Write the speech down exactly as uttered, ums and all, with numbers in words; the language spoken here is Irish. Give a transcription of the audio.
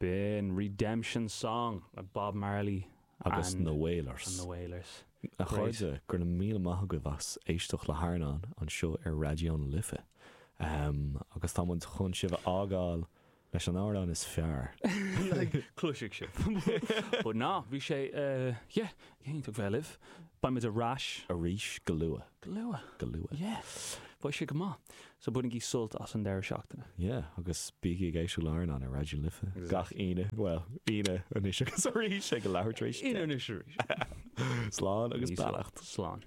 B'in Redemption Song le Bob Marley agus and na Wailers. And the Wailers. A chairde, go raibh míle maith agaibh as éisteacht le hAirneán anseo ar Raidió na Life. Um, agus tá muid chun sibh a fhágáil leis an amhrán is fearr. Like, cloisfidh sibh. But ná, bhí sé uh, yeah, iontach bheith libh. Beimid ar ais. Arís go luath. Go luath. Go luath. Yeah. Beidh sé go maith. So bainigí sult as an deireadh seachtaine. Yeah, agus bígí ag éisteacht le hAirneán ar Raidió na Life. Gach Aoine, well, Aoine anois agus arís ag leathuair tar éis. Aoine anois arís. Slán agus Níos beannacht. Slán.